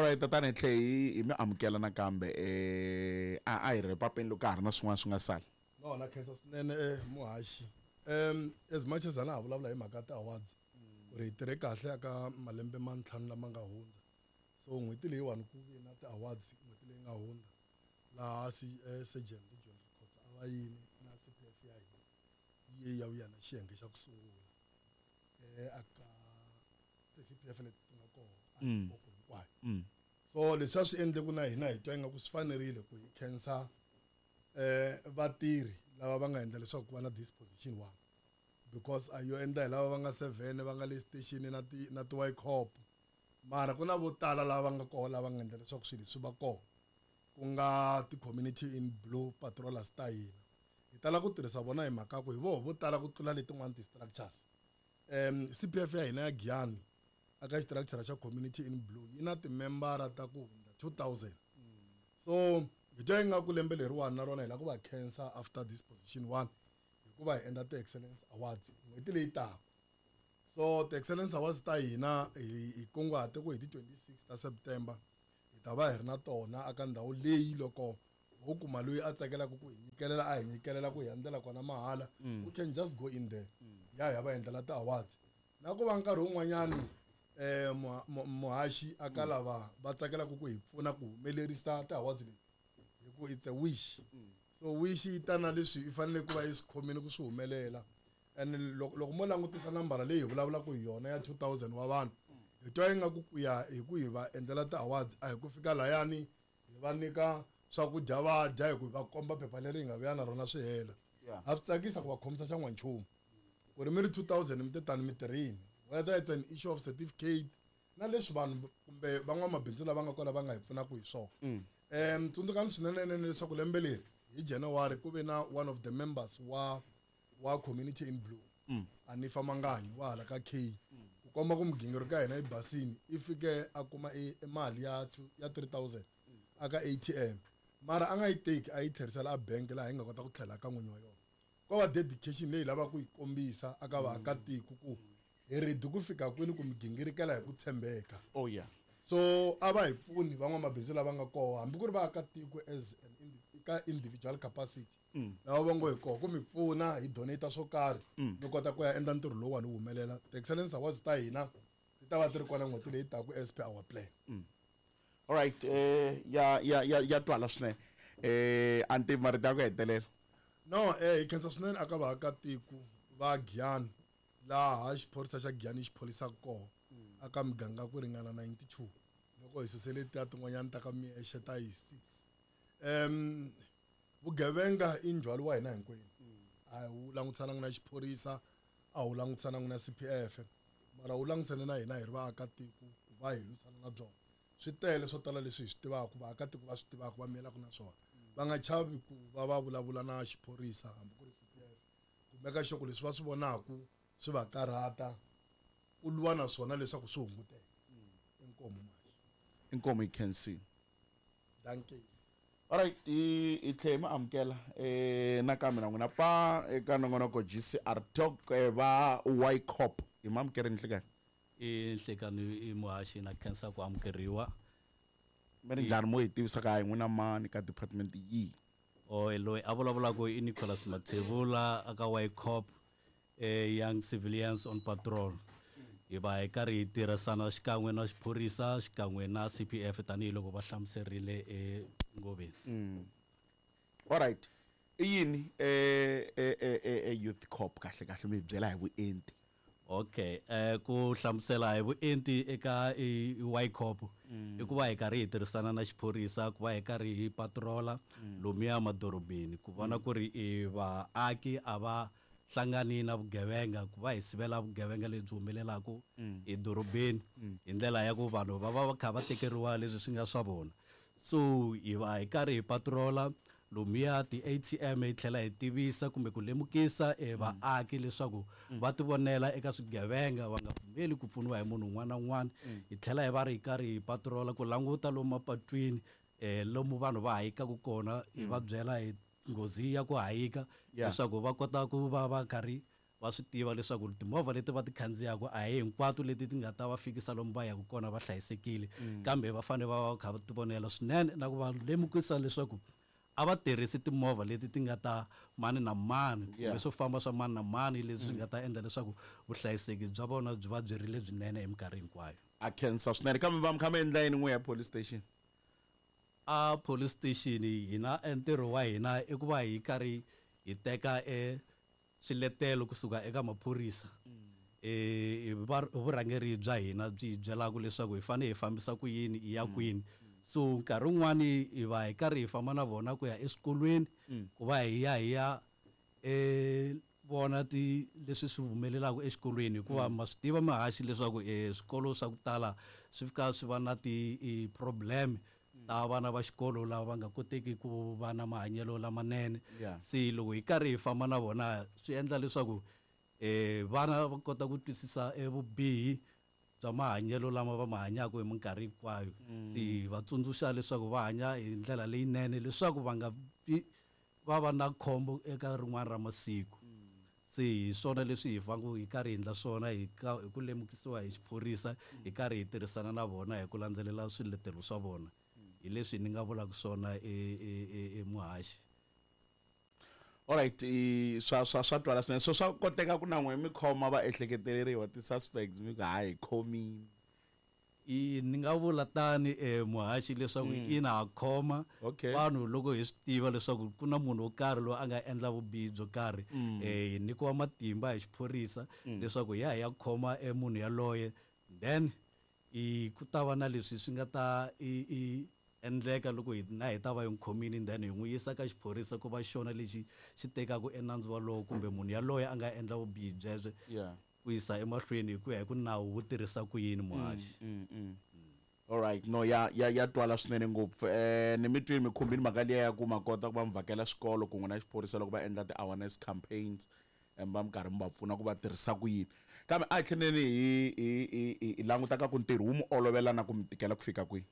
Alright, tatana, hi tlhe hi mi amukela nakambe. A hi ri papeni loko ka ha ri na swin'wana swi nga sala. No, na khensa swinene, muhaxi. As much as a na ha vulavula hi mhaka ti-awards, ku ri hi tirhe kahle aka malembe ma 5 lama nga hundza. So n'hweti leyiwani ku ve na ti-awards n'hweti leyi nga hundza, laha Surgeon Regional Records a va yini na CPF ya hina yi ye ya vuya na xiyenge xa ku sungula aka ti-CPF leti ti nga kona a Limpopo hinkwayo. So leswi a swi endle ku na hina hi twa ingaku swi fanerile ku hi khensa vatirhi lava va nga endla leswaku ku va na disposition one, because a yo endla hi lava va nga 7 va nga le station na ti na ti Y-Cop, mara ku na vo tala lava va nga kona lava nga endla leswaku swilo leswi va kona, ku nga ti-community in blue patrollers ta hina. Hi tala ku tirhisa vona hi mhaka ku hi voho vo tala ku tlula letin'wana ti-structures. CPF ya hina ya Giyani aka structure xa community in blue yi na timembara ta ku hundza 2000. So hi twa ingaku lembe leriwani na rona hi lava ku va khensa after this position one, hikuva hi endla ti-excellence awards n'hweti leyi taka. So ti-excellence awards ta hina hi kunguhate ku hi ti 26 ta September hi ta va hi ri na tona aka ndhawu leyi. Loko ho kuma loyi a tsakelaka ku hi nyikelela, a hi nyikelela ku hi endlela kona mahala, we can just go in there, ya hi ya va endlela ti-awards. Na ku va nkarhi wun'wanyani, muhaxi, aka lava va tsakelaka ku hi pfuna ku humelerisa ti-awards leti, hi ku it's a wish. So wish yi ta na leswi i fanele ku va yi swi khomile ku swi humelela. And loko mo langutisa nambara leyi hi vulavulaka hi yona ya 2000 wa vanhu, hi twa ingaku ku ya hi ku hi va endlela ti-awards a hi ku fika layani hi va nyika swakudya va dya, hi ku hi va komba phepha leri hi nga vuya na rona swi hela. A swi tsakisa ku va khomisa xa n'wanchumu ku ri mi ri 2000 mi te tani mi tirhini, whether it's an issue of certificate na leswi vanhu kumbe van'wamabindzu lava nga kona va nga hi pfunaka hi swona. Tsundzukani swinene leswaku lembe leri hi January ku ve na one of the members wa community in blue, Anifa Manganyi wa hala ka K, ku komba ku migingiriko ya hina yi basini, i fike a kuma i mali ya ya 3000 aka ATM, mara a nga yi teki, a yi tlherisela a bank laha yi nga kota ku tlhela ka n'winyi wa yona. Ko va dedication leyi lavaka ku yi kombisa aka vaakatiko ku hi ready ku fika kwini ku migingirikela hi ku tshembeka. Oh yeah. So a va hi pfuni van'wamabindzu lava nga kona, hambi ku ri vaakatiko as an ka individual capacity, lava va ngo hi koho ku mi pfuna hi donate swo karhi, mi kota ku ya endla ntirho lowuwani wu humelela. Ti-excellence awards ta hina ti ta va ti ri kona n'hweti leyi taku as per our plan. Alright, ya twala swinene. A ni tivi marito ya ku hetelela. No, hi khensa swinene aka vaakatiko va Giyani, laha xiphorisa xa Giyani xi pholisaka kona aka miganga ku ringana 92, loko hi suse letiya tin'wanyana ta ka miexe ta hi 6. Vugevenga i ndzhwalo wa hina hinkwenu, a wu langutisananga na xiphorisa, a wu langutisananga na CPF, mara wu langutisane na hina hi ri vaakatiko ku va hi lwisana na byona. Swi tele swo tala leswi hi swi tivaka, vaakatiko va swi tivaka, va miyelaka na swona, va nga chavi ku va va vulavula na xiphorisa hambi ku ri CPF, ku meka sure ku leswi va swi vonaka swi va karhata ku lwa na swona leswaku swi hunguteka. Inkomu, Mashi. Inkomu, hi khensile. Dankie. Alright, hi tlhe hi mi amukela nakambe na n'wina pa eka nongonoko GCR Talk, va Y-Cop. Hi mi amukerini nhlekani. I nhlekani, i muhaxi, na khensa ku amukeriwa. Mi ri njhani mo hi tivisa ka hi n'wina mani ka department yihi? Oh, loyi a vulavulaka i Nicholas Mathebula aka Y-Cop, Young Civilians on Patrol. Hi va hi karhi hi tirhisana xikan'we na xiphorisa xikan'we na CPF tanihiloko va hlamuserile engoveni. Alright. I yini Youth Cop kahle kahle, mi hi byela hi vuenti? Okay, ku hlamusela hi vuenti eka Y-Cop i ku va hi karhi hi tirhisana na xiphorisa ku va hi karhi hi patrola lomuya madorobeni ku vona ku ri i vaaki a va hlangani na vugevenga, ku va hi sivela vugevenga lebyi humelelaka edorobeni hi ndlela ya ku vanhu va va va kha va tekeriwa leswi swi nga swa vona. So hi va hi karhi hi patrola lomuya ti-ATM, hi tlhela hi tivisa kumbe ku lemukisa vaaki leswaku va tivonela eka swigevenga, va nga pfumeli ku pfuniwa hi munhu un'wana na un'wana. Hi tlhela hi va ri hi karhi hi patrola ku languta lomu mapatwini, lomu vanhu va hayikaka kona, hi va byela hi nghozi ya ku hayika leswaku va kota ku va va karhi Va swi tiva leswaku timovha leti va ti khandziyaka a hi hinkwato leti ti nga ta va fikisa lomu va yaka kona va hlayisekile, kambe va fanele va va kha va tivonela swinene na ku va lemukisa leswaku a va tirhisi timovha leti ti nga ta mani na mani kumbe swo famba swa mani na mani leswi swi nga ta endla leswaku vuhlayiseki bya vona byi va byi ri lebyinene hi minkarhi hinkwayo. A khensa swinene, kambe va mi kha mi endla yini n'we ya police station? A police station hina ntirho wa hina i ku va hi karhi hi teka e swiletelo kusuka eka maphorisa, hi vurhangeri bya hina byi hi byelaka leswaku hi fanele hi fambisa ku yini hi ya kwini. So nkarhi wun'wani hi va hi karhi hi famba na vona ku ya eswikolweni ku va hi ya hi ya vona ti leswi swi humelelaka exikolweni, hikuva ma swi tiva mihaxi leswaku swikolo swa ku tala swi fika swi va na ti-problem ta vana va xikolo lava va nga koteki ku va na mahanyelo lamanene. Se loko hi karhi hi famba na vona swi endla leswaku vana va kota ku twisisa vubihi bya mahanyelo lama va ma hanyaka hi minkarhi hinkwayo. Se hi va tsundzuxa leswaku va hanya hi ndlela leyinene leswaku va nga vi va va na khombo eka rin'wana ra masiku. Se hi swona leswi hi fanele hi karhi hi endla swona hi ku lemukisiwa hi xiphorisa, hi karhi hi tirhisana na vona hi ku landzelela swiletelo swa vona. Hi leswi ni nga vulaka swona emuhaxi. Alright, swa twala swinene. So swa koteka ku na n'we mi khoma va ehleketeleriwa ti-suspects mi ku hayi khomini? Ni nga vula tani muhaxi leswaku ina ha khoma vanhu loko hi swi tiva leswaku ku na munhu wo karhi loyi a nga endla vubihi byo karhi, hi nyikiwa matimba hi xiphorisa leswaku hi ya hi ya khoma munhu yaloye, then ku ta va na leswi swi nga ta i endleka loko hi na hi ta va hi n'wi khomile, then hi n'wi yisa ka xiphorisa ku va xona lexi xi tekaka enandzu walowo kumbe munhu yaloye a nga endla vubihi byebyo ku yisa emahlweni hi ku ya hi ku nawu wu tirhisa ku yini muhaxi. Alright, no ya twala swinene ngopfu. Ni mi twini mi khumbini mhaka liya ya ku ma kota ku va mi vhakela swikolo kun'we na xiphorisa loko va endla ti-awareness campaigns, va mi karhi mi va pfuna ku va tirhisa ku yini. Kambe a hi tlheleni hi languta ka ku ntirho wu mi olovela na ku mi tikela ku fika kwihi?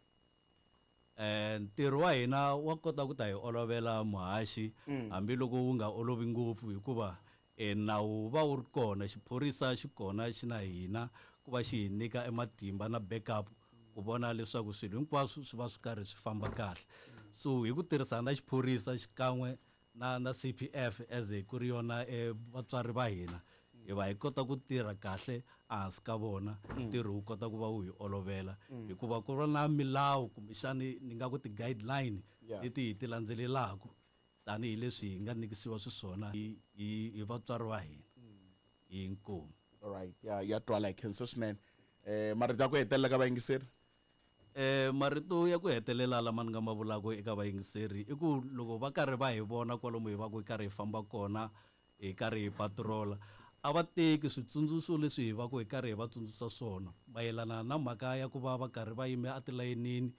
Ntirho wa hina wa kota ku ta hi olovela muhaxi, hambiloko wu nga olovi ngopfu, hikuva nawu va wu ri kona, xiphorisa xi kona xi na hina ku va xi hi nyika ematimba na backup ku vona leswaku swilo hinkwaswo swi va swi karhi swi famba kahle. So hi ku tirhisana na xiphorisa xikan'we na CPF as ku ri yona vatswari va hina, hi va hi kota ku tirha kahle ehansi ka vona, ntirho wu kota ku va wu hi olovela, hikuva ku va na milawu kumbexani ni nga ku ti-guideline leti hi ti landzelelaka tanihileswi hi nga nyikisiwa xiswona hi vatswari va hina. Inkomu. Alright, ya twala hi khensa swinene. Marito ya ku hetelela ka vayingiseri? Marito ya ku hetelela lama ni nga ma vulaka eka vayingiseri i ku loko va karhi va hi vona kwalomu hi va ku hi karhi hi famba kona, hi karhi hi patrola, a va teki switsundzuxo leswi hi va ku hi karhi hi va tsundzuxa swona mayelana na mhaka ya ku va va karhi va yime atilayenini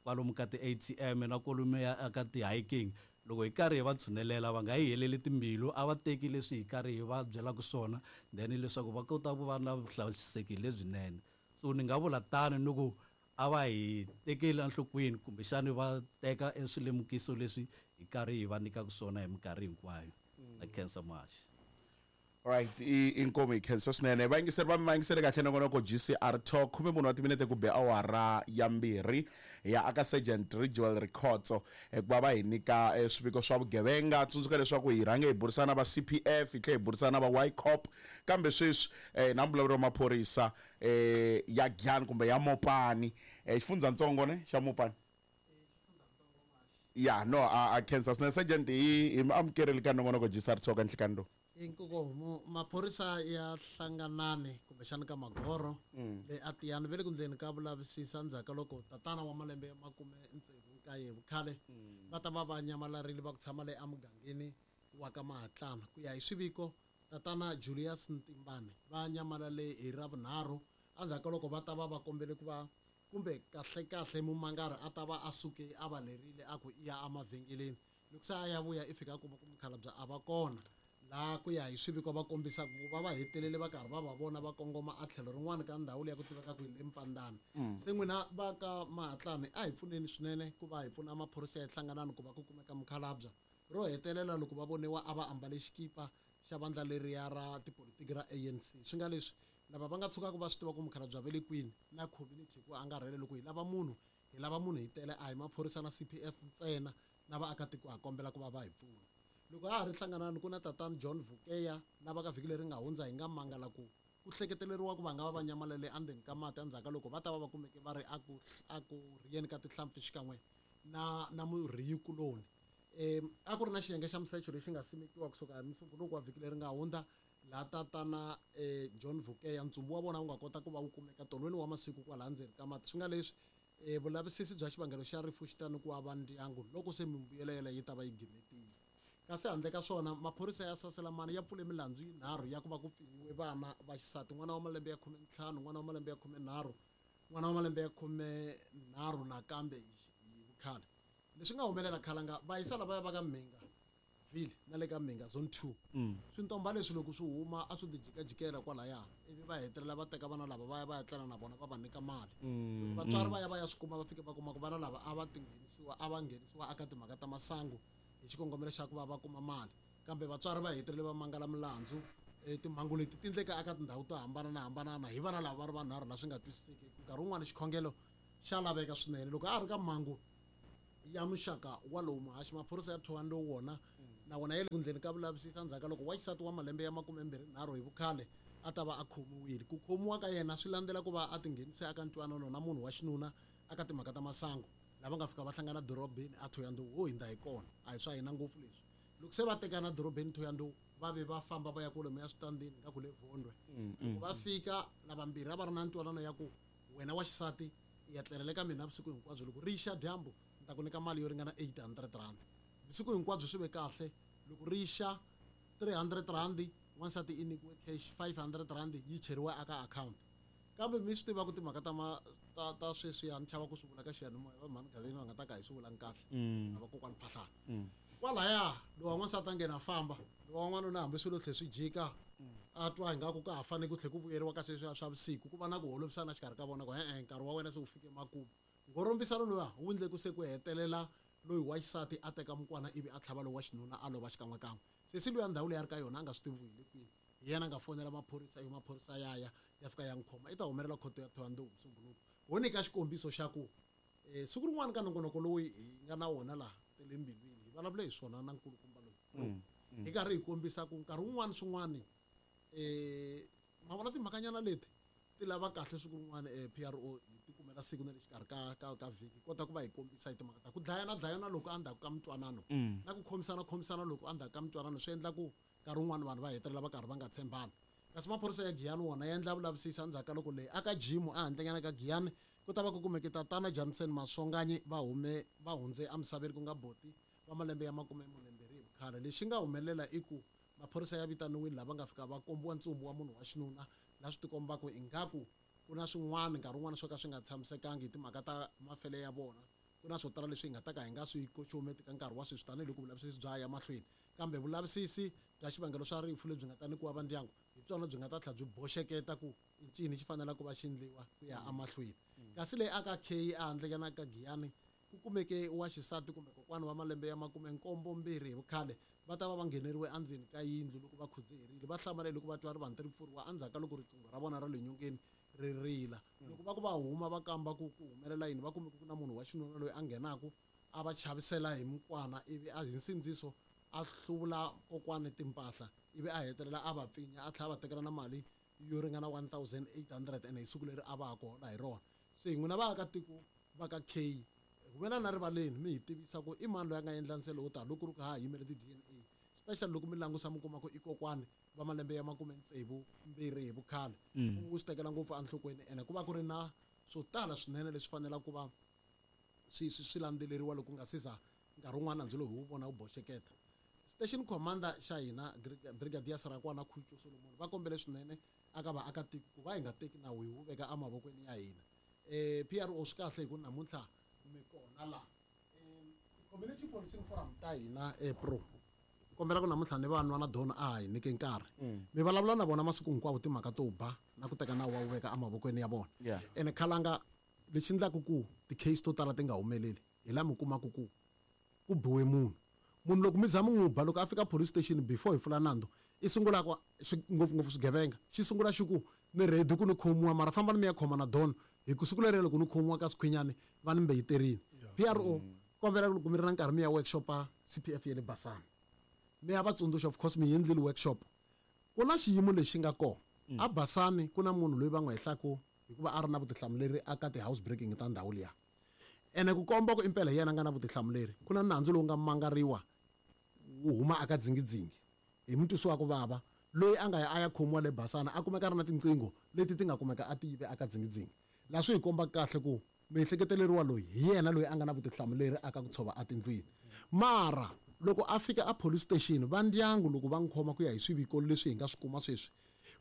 kwalomu ka ti-ATM na kwalomu ya ka ti-hiking. Loko hi karhi hi va tshunelela va nga hi heleli timbilu, a va teki leswi hi karhi hi va byelaka swona, then leswaku va kota ku va na vuhlayiseki lebyinene. So ni nga vula tano ni ku a va hi tekeli enhlokweni kumbexani va teka eswilemukiso leswi hi karhi hi va nyikaka swona hi minkarhi hinkwayo. Na khensa muhaxi. Alright, inkomu hi khensa swinene. Vayingiseri va mi vayingisele kahle nongonoko GCR Talk, 14 wa timinete ku be awara ya 2 ya aka Sergeant Ridgewell Rikhotso ku va va hi nyika swiviko swa vugevenga. Tsundzuka leswaku hi rhange hi burisana va CPF, hi tlhela hi burisana va Y-Cop, kambe sweswi na mbulavulo wa maphorisa ya Giyani kumbe ya Mopani, xifundzatsongo ne xa Mopani. Ya, no, a khensa swinene Sergeant, hi mi amukerile ka nongonoko GCR Talk nhlikani lowu. Inkomu, maphorisa ya hlanganani kumbexana ka Magoro le a Tiyani ve le ku ndleni ka vulavisisa ndzhaku ka loko tatana wa malembe ya 69 vukhale va ta va va nyamalarile va ku tshama le emugangeni wa ka Mahatlana. Ku ya hi swiviko, tatana Julius Ntimbane va nyamalale hi Ravunharhu endzhaku ka loko va ta va va kombele ku va kumbe kahlekahle mumangari a ta va a suke a va lerile a ku i ya emavhengeleni. Loko se a ya vuya i fika a kuma ku mukhalabye a va kona. Laha ku ya hi swiviko va kombisa ku va va hetelele va karhi va va vona va kongoma a tlhelo rin'wana ka ndhawu leyi ya ku tiveka ku hi le Mpandana. Se n'wina va ka Mahatlani a hi pfuneni swinene ku va hi pfuna maphorisa ya hlanganani ku va ku kumeka mukhalabye. Ro hetelela loko va voniwa a va ambale xikipa xa vandla leriya ra tipolitiki ra ANC. Swi nga leswi lava va nga tshukaka va swi tiva ku mukhalabye va le kwini na community hi ku angarhela. Loko hi lava munhu, hi lava munhu hi tele, a hi maphorisa na CPF ntsena, na vaakatiko ha kombela ku va va hi pfuna. Loko ha ha ri hlanganani, ku na tatana John Vukeya lava ka vhiki leri nga hundza hi nga mangala ku ku hleketeleriwa ku va nga va va nyamalele endzeni ka mati endzhaku ka loko va ta va va kumeke va ri a ku rhiyeni ka tihlampfi xikan'we na murhiyikuloni. A ku ri na xiyenge xa misecho lexi nga simekiwa kusuka hi Musumbunuko wa vhiki leri nga hundza, laha tatana John Vukeya ntsumbu wa vona wu nga kota ku va wu kumeka tolweni wa masiku kwalaha ndzeni ka mati. Swi nga leswi vulavisisi bya xivangelo xa rifu xi ta nyikiwa va ndyangu loko se mimbuyelo yeleyo yi ta va yi gimetile. Kasi handle ka swona, maphorisa ya Saselamani ya pfule milandzu yinharhu ya ku va ku pfinyiwe vana va xisati, n'wana wa malembe ya 15, n'wana wa malembe ya 13, n'wana wa malembe ya 13 nakambe hi vukhale. Leswi nga humelela, khalanga, vayisa lavaya va ka Mhinga Ville na le ka Mhinga Zone 2, swintomba leswi loko swi huma a swi tijikajikela kwalaya, ivi va hetelela va teka vana lava va ya va ya tlela na vona, va va nyika mali. Loko vatswari va ya va ya swi kuma, va fike va kuma ku vana lava a va tinghenisiwa, a va nghenisiwa eka timhaka ta masangu hi xikongomelo xa ku va va kuma mali, kambe vatswari va hetelele va mangala milandzu. Timhangu leti ti endleka eka tindhawu to hambananahambanana hi vana lava va ri vanharhu, laha swi nga twisiseki. Nkarhi wun'wani xikhongelo xa laveka swinene loko a ri ka mhangu ya muxaka walowu. Muhaxi, maphorisa ya Thohoyandou wona na wona ya le ku ndleni ka vulavisisi endzhaku ka loko wa xisati wa malembe ya 23 hi vukhale a ta va a khomiwile. Ku khomiwa ka yena swi landzela ku va a tinghenise eka ntwanano na munhu wa xinuna eka timhaka ta masangu, lava nga fika va hlangana dorobeni a Thohoyandou. Ho hindza hi kona, a hi swa hina ngopfu leswi. Loko se va tekana dorobeni Thohoyandou, va ve va famba va ya kwalomu ya switandini nga ku le Vondwe. Loko va fika, lavambirhi a va ri na ntwanano ya ku wena wa xisati i ya tlelela ka mina vusiku hinkwabyo, loko ri xa dyambu ni ta ku nyika mali yo ringana R800. Vusiku hinkwabyo swi ve kahle. Loko ri xa, R300 wansati i nyikiwe cash, R500 yi cheriwa aka account. Kambe mi swi tiva ku timhaka ta ma ta ta sweswiya, ni chava ku swi vula ka xiyanimoya, va mhani Gaveni va nga ta ka hi swi vulangi kahle na vakokwani Phahlana kwalaya. Lowa n'wansati a nghena a famba, lowa n'wanuna hambi swilo tlhe swi jika, a twa ingaku ka ha fanele ku tlhe ku vuyeriwa ka sweswiya swa vusiku, ku va na ku holovisana xikarhi ka vona ku e-e, nkarhi wa wena se wu fike makumu. Ngorombisano luwa wu endle ku se ku hetelela loyi wa xisati a teka mukwana ivi a tlhava loyi wa xinuna, a lova xikan'wekan'we. Sesi luya, ndhawu leyi a ri ka yona a nga swi tivi ku hi le kwini, hi yena a nga fonela maphorisa, ivi maphorisa ya ya fika ya n'wi khoma. I ta humelela khoto ya Thohoyandou Musumbunuko. Ho nyika xikombiso xa ku siku rin'wana ka nongonoko lowu hi nga na wona laha tele mbilwini, hi vulavule hi swona na nkulukumba loyi, hi karhi hi kombisa ku nkarhi wun'wani swin'wani ma vona timhakanyana leti ti lava kahle. Siku rin'wana PRO hi ti kumela siku na le xikarhi ka vhiki, kota ku va hi kombisa hi timhaka ta ku dlayana dlayana loko endzhaku ka mintwanano na ku khomisana khomisana loko endzhaku ka mintwanano, swi endla ku nkarhi wun'wani vanhu va hetelela va karhi va nga tshembani. Kasi maphorisa ya Giyani wona ya endla vulavisisi endzhaku ka loko leyi aka jimu ehandlenyana ka Giyani ku ta va ku kumeke tatana Johnson Maswonganyi va hume va hundze emisaveni, ku nga boti wa malembe ya 42 hi vukhale. Lexi nga humelela i ku maphorisa ya vitaniwile, lava nga fika va kombiwa ntsumbu wa munhu wa xinuna, laha swi tikombaka ingaku ku na swin'wana nkarhi wun'wana swo ka swi nga tshamisekangi hi timhaka ta mafele ya vona. Ku na swo tala leswi hi nga ta ka hi nga swi koxometi ka nkarhi wa sweswi, tanihiloko vulavisisi bya ya mahlweni, kambe vulavisisi bya xivangelo swa rifu lebyi nga ta nyikiwa va ndyangu hi byona byi nga ta tlhela byi boxeketa ku i ncini xi faneleke ku va xi endliwa ku ya emahlweni. Kasi leyi aka K ehandlenyana ka Giyani ku kumeke wa xisati kumbe kokwana wa malembe ya 72 hi vukhale, va ta va va ngheneriwe endzeni ka yindlu loko va khudzeherile. Va hlamale loko va twa rivanti ri pfuriwa endzhaku ka loko riqingho ra vona ra le nyongeni ri rila. Loko va ku va huma va kamba ku ku humelela yini, va kume ku na munhu wa xinuna loyi a nghenaku a va chavisela hi mukwana, ivi a hi nsindziso a hluvula kokwani timpahla, ivi a hetelela a va pfinya, a tlhela a va tekela na mali yo ringana 1800 ene hi siku leri a va ha ku hola hi rona. Se n'wina vaakatiko va ka K, humelela na rivaleni mi hi tivisa ku i mani loyi a nga endla nsele wo tala, loko ku ri ku ha ha yimele ti-DNA, especially loko mi langusa mi kuma ku i kokwani va malembe ya 62 hi vukhale. Mfumo wu swi tekela ngopfu enhlokweni, ene ku va ku ri na swo tala swinene leswi fanelaka ku va swi landzeleriwa loko nga siza nkarhi wun'wana nandzu lowu hi wu vona wu boxeketa. Station commander xa hina, Brigadier Sarakwana Khucho Solomon, va kombele swinene aka vaakatiko ku va hi nga teki nawu hi wu veka emavokweni ya hina. PRO, swi kahle hi ku namuntlha mi kona laha. Community policing forum ta hina, pro kombela ku namuntlha ni vanwa na dona a hi nyike nkarhi mi vulavula na vona masiku hinkwawo timhaka to ba na ku teka nawu wa wu veka emavokweni ya vona. Ene khalanga, lexi endlaka ku ti-case to tala ti nga humeleli hi laha mi kumaka ku ku biwe munhu. Munhu loko mi za mi n'wi ba, loko a fika police station before hi pfula nandzu, i sungula ku ngopfungopfu swigevenga xi sungula xi ku ni ready ku ni khomiwa, mara fambani mi ya khoma na don, hi ku siku leriya loko ni khomiwa ka swikhwinyani va ni mbeyiterini. PRO, kombela loko mi ri na nkarhi mi ya workshopa CPF ya le Basani, mi ya va tsundzuxa. Of course mi endlile workshop. Ku na xiyimo lexi nga kona a Basani, ku na munhu loyi va n'wi hehlaku hikuva a ri na vutihlamuleri aka ti-house breaking ta ndhawu liya. Ene ku komba ku impela hi yena a nga na vutihlamuleri, ku na nandzu lowu nga mangariwa wu huma aka dzingidzingi hi mutwisi wa ku vava loyi a nga ya a ya khomiwa le Basana, a kumeka a ri na tinqingho leti ti nga kumeka a ti yive aka dzingidzingi. Laha swi hi komba kahle ku miehleketeleriwa loyi hi yena loyi a nga na vutihlamuleri aka ku tshova etindlwini. Mara loko a fika a police station, va ndyangu loko va n'wi khoma, ku ya hi swiviko leswi hi nga swi kuma sweswi,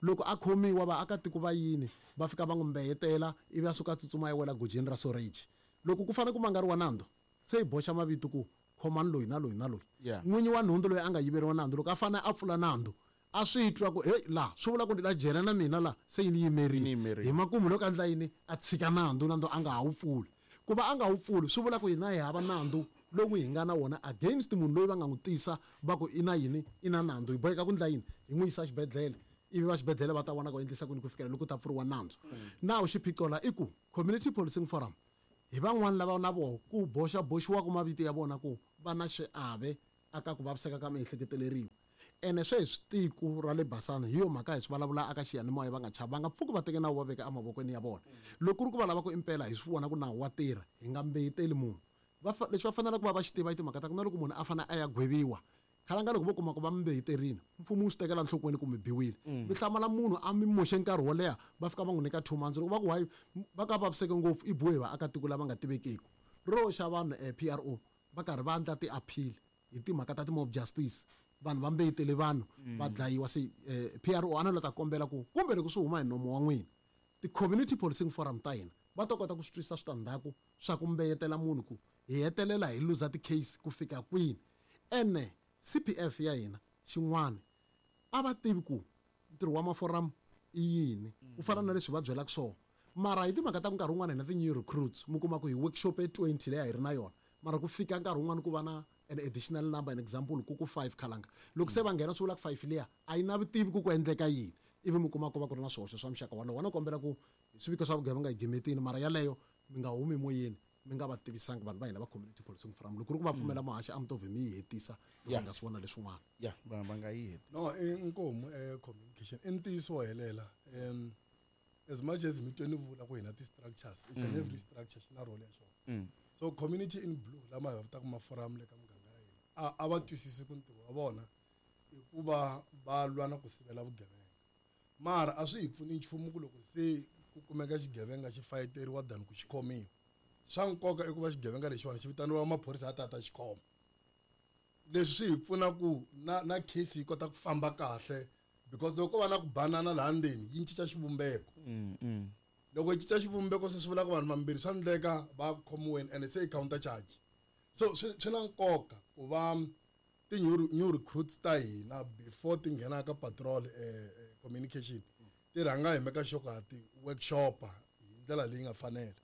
loko a khomiwa vaakatiko va yini va fika va n'wi mbeyetela, ivi a suka a tsutsuma a ya wela gojeni ra soreji. Loko ku fanele ku mangariwa nandzu, se hi boxa mavito ku khomani loyi na loyi na loyi. N'winyi wa nhundzu loyi a nga yiveriwa nandzu, loko a fanele a pfula nandzu, a swi twa ku hey, laha swi vula ku ni ta jela na mina laha, se yi ni yimerile. Hi makumu loko a endla yini, a tshika nandzu, nandzu a nga ha wu pfuli. Ku va a nga wu pfuli swi vula ku hina hi hava nandzu lowu hi nga na wona against munhu loyi va nga n'wi tisa va ku i na yini, i na nandzu. Hi boheka ku ndla yini? Hi n'wi yisa xibedhlele, ivi va xibedhlele va ta vona ku endlisa kwini ku fikela loko ku ta pfuriwa nandzu. Now xiphiqo la i ku community policing forum hi van'wani lava na voho ku boxa boxiwaka mavito ya vona ku va na xiave aka ku vaviseka ka miehleketeleriwa. Ene sweswi tiko ra le Basani, hi yo mhaka hi swi vulavula aka xiyanimoya, va nga chavi, va nga pfuki va teke nawu va veka emavokweni ya vona. Loko ku ri ku va lava ku impela hi swi vona ku nawu wa tirha, hi nga mbeyeteli munhu. Lexi va faneleke ku va va xi tiva i timhaka ta ku na loko munhu a fanele a ya gweviwa, khalanga loko vo kuma ku va mi mbeyeterini, mfumo wu swi tekela nhlokweni ku mi biwile. Mi hlamala munhu a mi moxe nkarhi wo leha, va fika va n'wi nyika 2 months. Loko va ku why va ka vaviseke ngopfu, i biwe hi vaakatiko lava nga tivekeku ro xa vanhu. PRO, va karhi va endla ti-appeal hi timhaka ta ti-mob justice, vanhu va mbeyetele vanhu va dlayiwa. Se PRO a na la ta kombela ku kumbe loko swi huma hi nomo wa n'wina, ti-community policing forum ta hina va ta kota ku swi twisisa switandzhaku swa ku mbeyetela munhu, ku hi hetelela hi luza ti-case ku fika kwini. Ene CPF ya hina xin'wana a va tivi ku ntirho wa maforamu i yini, ku fana na leswi va byelaka swona. Mara hi timhaka ta ku nkarhi wun'wana hina ti-new recruits, mi kuma ku hi workshop e 20 leyi a hi ri na yona, mara ku fika nkarhi wun'wana ku va na an additional number, an example ku ku 5. Khalanga loko se va nghena, swi vula ku 5 liya a yi na vutivi ku ku endleka yini, ivi mi kuma ku va ku ri na swihoxo swa muxaka walowo. Na kombela ku swiviko swa vugevenga hi gimetini, mara yaleyo mi nga humi moyeni mi nga va tivisangi vanhu va hina va community policing forum. Loko ku ri ku va pfumela, muhaxi, a mi to vhe mi yi hetisa loko hi nga swi vona leswin'wana. Ya, va nga yi hetisa. No, i nkomu communication i ntiyiso wo helela. As much as mi twe ni vula ku hina ti-structures, each and every structure xi na role ya xona. So community in blue lama hi va vitaka maforamu le ka muganga ya hina, a va twisisi ku ntirho wa vona i ku va va lwa na ku sivela vugevenga. Mara a swi hi pfuni nchumu ku loko se ku kumeka xigevenga xi fayeteriwa than ku xi khomiwa. Swa nkoka i ku va xigevenga lexiwani xi vitaniwa maphorisa ya ta ta xi khoma. Leswi swi hi pfuna ku na case yi kota ku famba kahle, because loko ko va na ku banana laha ndzeni, yi cinca xivumbeko. Loko yi cinca xivumbeko, se swi vula ku vanhu vambirhi swa endleka va khomiweni, and se i counter charge. So swi na nkoka ku va ti-new recruits ta hina, before ti nghena ka patrol, communication ti rhanga hi meka sure ku ti workshopa hi ndlela leyi nga fanela,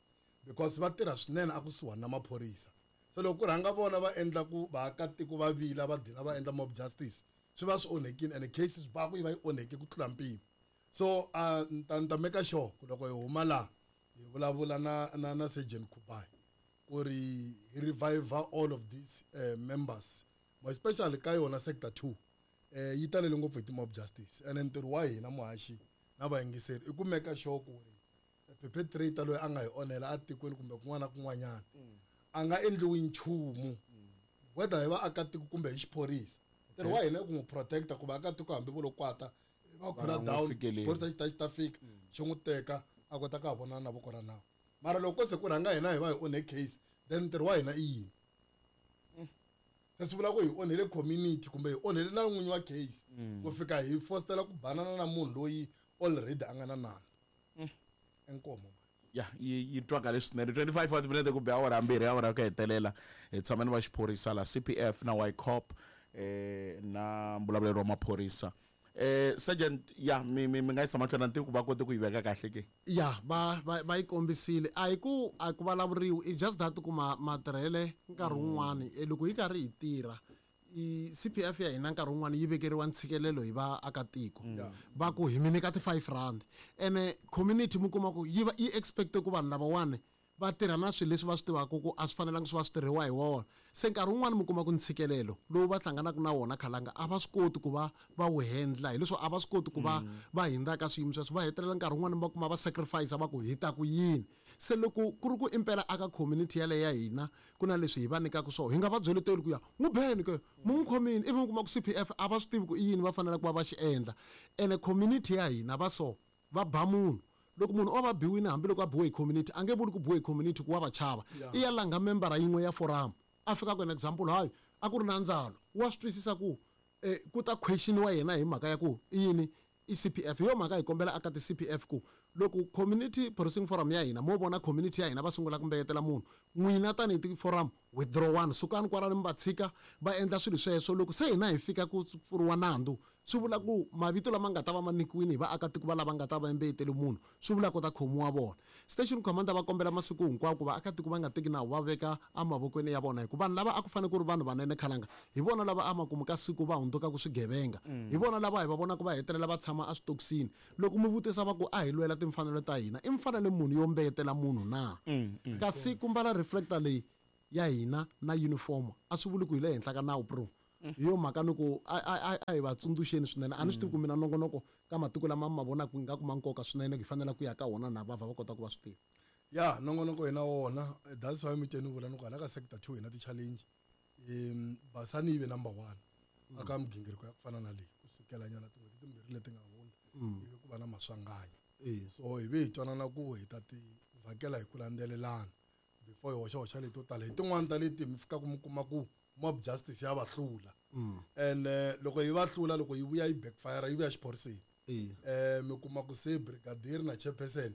because va tirha swinene a kusuhani na maphorisa. So loko ku rhanga vona va endla ku vaakatiko va vila, va dina va endla mob justice, swi va swi onhekile, and case swi va ku yi va yi onheke ku tlula mpimo. So ni ta make sure ku loko hi huma laha hi vulavula na Sergeant Kubai ku ri hi revive all of these members, more especially ka yona sector 2. Yi talele ngopfu hi ti-mob justice, and ntirho wa hina, muhaxi na vayingiseri, i ku make sure ku ri perpetrator loyi a nga hi onhela atikweni kumbe kun'wana na kun'wanyana a nga endliwi nchumu, whether hi vaakatiko kumbe hi xiphorisa. Ntirho wa hina i ku n'wi protecta ku vaakatiko hambi vo lo kwata va khula n'wi down, fikeleli. Xiphorisa xi ta fika xi n'wi teka, a kota ka ha vonana na voko ra nawu. Mara loko ko se ku rhanga hina hi va hi onhe case, then ntirho wa hina i yini? Se swi vula ku hi onhele community kumbe hi onhele na n'winyi wa case, ku fika hi fostela ku banana na munhu loyi already a nga na nandzu. Inkomo. Ya, yi twakale swinene. 25 wa timinete ku be awara 2, awara ku hetelela. Hi tshama ni va xiphorisa la CPF na YCOP, na mbulavuleri wa maphorisa, sergeant. Ya, mi nga yisa mahlweni na ntivo ku va kote ku yi veka kahle ke? Ya, va yi kombisile. A hi ku vulavuriwi, i just that ku matirhele nkarhi wun'wani, loko hi karhi hi tirha I CPF ya hina nkarhi wun'wani yi vekeriwa ntshikelelo hi vaakatiko va ku hi mi nyika ti-5 rand, ene community mi kuma ku yi va yi expecte ku vanhu lavawani va tirha na swilo leswi va swi tivaka ku a swi fanelanga swi va swi tirhiwa hi wona. Se nkarhi wun'wani mi kuma ku ntshikelelo lowu va hlanganaka na wona khalanga a va swi koti ku va va wu handla, hileswo a va swi koti ku va va hindza ka swiyimo sweswo, va hetelela nkarhi wun'wani va kuma va sacrifice va ku hi ta ku yini. Se loko ku ri ku impela aka community yaleyo ya hina ku na leswi hi va nyikaka swona, hi nga va byeleteli ku ya n'wi beni ke mu n'wi khomini, ivi mi kuma ku CPF a va swi tivi ku i yini va faneleke ku va va xi endla. Ene community ya hina va so va ba munhu, loko munhu o va biwini, hambiloko a biwe hi community, a nge vuli ku biwe hi community ku wa va chava, i ya langha membara yin'we ya forum a fika ku an example, hayi a ku ri na ndzalo, wa swi twisisa ku ku ta questioniwa yena hi mhaka ya ku i yini i CPF. Hi yo mhaka hi kombela aka ti-CPF ku loko community policing forum ya hina mo vona community ya hina va sungula ku mbeyetela munhu, n'wina tanihi ti-forum withdraw one, sukani kwalano mi va tshika va endla swilo sweswo. Loko se hina hi fika ku pfuriwa nandzu, swi vula ku mavito lama nga ta va ma nyikiwile hi vaakatiko va lava nga ta va mbeyeteli munhu, swi vula ku ta khomiwa vona. Station commander va kombela masiku hinkwawo ku vaakatiko va nga teki nawu va veka emavokweni ya vona, hikuva vanhu lava a ku fanele ku ri vanhu vanene khalanga hi vona lava emakumu ka siku va hundzukaka swigevenga, hi vona lava hi va vonaka va hetelela va tshama eswitokisini. Loko mi vutisa va ku a hi lwela timfanelo ta hina, i mfanelo munhu yo mbeyetela munhu na? Kasi ku mbala reflector leyi ya hina na uniform a swi vuli ku hi le henhla ka nawu bro. Hi yo mhaka ni ku a hi va tsundzuxeni swinene. A ni swi tivi ku mina nongonoko ka matiko lama ma vonaka ingaku ma nkoka swinene, hi fanele ku ya ka wona na va va kota ku va swi tiva. Ya nongonoko hi na wona, that's why mutsheni vula ni ku hala ka sector 2 hi na ti-challenge. Basani yi ve number 1 aka migingiriko ya ku fana na leyi kusukela nyana tin'hweti timbirhi leti nga hundza, ivi ku va na maswanganyi. So hi ve hi twanana ku hi ta ti vhakela hi ku landzelelana before hi hoxa hoxa leto tala. Hi tin'wani ta leti mi fikaka mi kuma ku mob justice ya va hlula, and loko yi va hlula, loko yi vuya yi backfire, yi vuya xiphoriseni. Mi kuma ku se brigadier na chairperson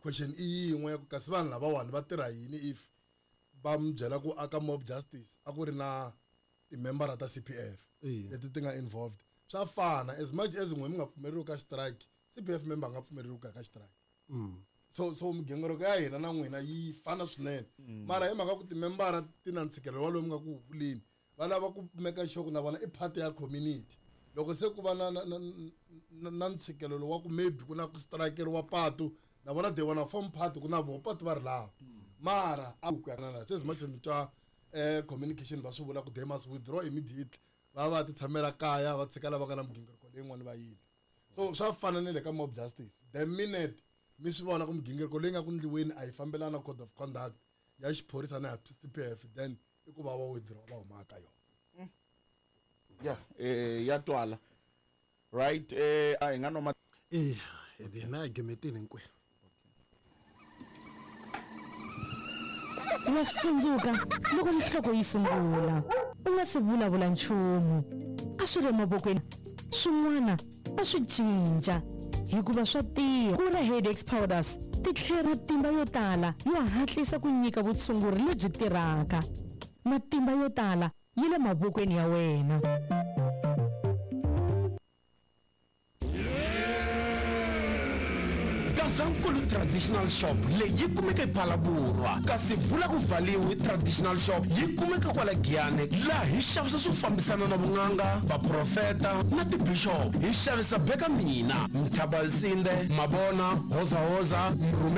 question i yin'we ya ku kasi vanhu lavawani va tirha yini, if va mi byela ku aka mob justice a ku ri na timembara ta CPF leti ti nga involved. Swa fana, as much as n'we mi nga pfumeleriwi ka strike, CPF member a nga pfumeleriwi ku ya ka strike. So migingiriko ya hina na n'wina yi fana swinene, mara hi mhaka ku timembara ti na ntshikelelo walowu mi nga ku vuleni, va lava ku make sure ku na vona i part ya community. Loko se ku va na ntshikelelo wa ku maybe ku na ku strikeriwa patu, na vona they wanna form part ku na voho patu va ri lava, mara a ku ya na se as much as mi twa communication va swi vula ku they must withdraw immediately, va va ti tshamela kaya va tshika lava nga na migingiriko leyin'wana va yini. So swa fana na le ka mob justice, the minute mi swi vona ku migingiriko leyi nga ku ndliweni a yi fambelana na code of conduct ya xiphorisa na ya CPF, then i ku va va withdraw va huma ka yona. Ya ya twala, right? A hi nga noma hina hi gimetini hinkwenu. Wa swi tsundzuka loko nhloko yi sungula u nga si vulavula nchumu, a swi ri emavokweni, swin'wana a swi cinca hikuva swa tiya. Kura Headaches Powders ti tlhela matimba yo tala yo hatlisa ku nyika vutshunguri lebyi tirhaka. Matimba yo tala yi le mavokweni ya wena. Gazankulu Traditional Shop leyi yi kumeka ePhalaborwa, kasi vula ku vhaliwi Traditional Shop yi kumeka kwala Giyani, laha hi xavisa swo fambisana na vun'anga, vaprofeta na tibishop. Hi xavisa beka mina, Mthabalsinde, Mabona, Hozahoza, Mrhumela.